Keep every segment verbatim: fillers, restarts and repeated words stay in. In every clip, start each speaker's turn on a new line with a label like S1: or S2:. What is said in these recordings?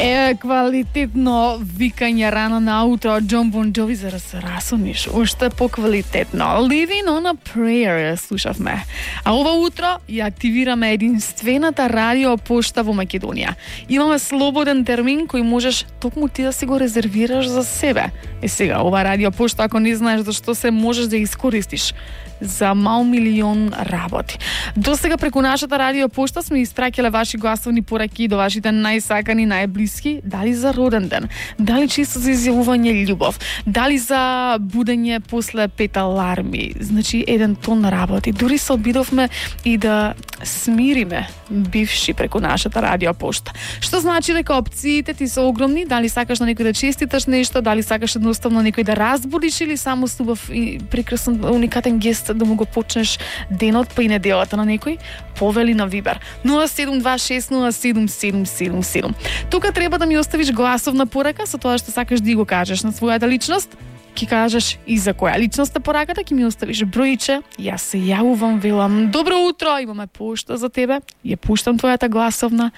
S1: Е, квалитетно викање рано на утро од Jon Bon Jovi за да се расониш. Уште поквалитетно. Living on a Prayer слушавме. А ова утро ја активираме единствената радио пошта во Македонија. Имаме слободен термин кој можеш токму ти да си го резервираш за себе. Е сега, ова радио пошта, ако не знаеш зашто се, можеш да ја искористиш за мал милион работи. До сега преку нашата радио пошта сме испраќале ваши гласовни пораки до вашите најсакани, најблиски, дали за роден ден, дали чисто за изјавување љубов, дали за будење после пет аларми. Значи еден тон работи. Дури се обидовме и да смириме бивши преку нашата радио пошта. Што значи дека опциите ти се огромни, дали сакаш на некој да честиташ нешто, дали сакаш едноставно некој да разбудиш или само с убав и прекрасен уникатен гест да му го почнеш денот па и неделата на некој, повели на Вибер нула седум два шест нула седум седум седум седум. Тука треба да ми оставиш гласовна порака со тоа што сакаш да го кажеш на својата личност. Ки кажеш и за која личност е пораката, ки ми оставиш бројче, јас се јавувам, велам добро утро, имаме пошта за тебе, ја пуштам твојата гласовна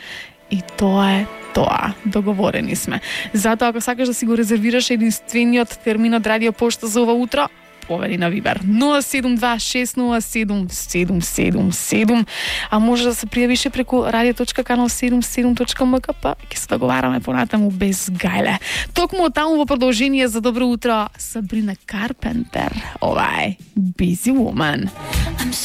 S1: и тоа е тоа. Договорени сме. Затоа ако сакаш да си го резервираш единствениот термин од радио пошта за ова утро, повели на Вибер нула седум два шест нула седум седум седум седум, а може да се пријавиш преку radio точка канал седумдесет и седум точка ем ка, па ќе се договараме понатаму без гајле. Токму таму во продолжение за добро утро Сабрина Карпентер. Ова е Busy Woman.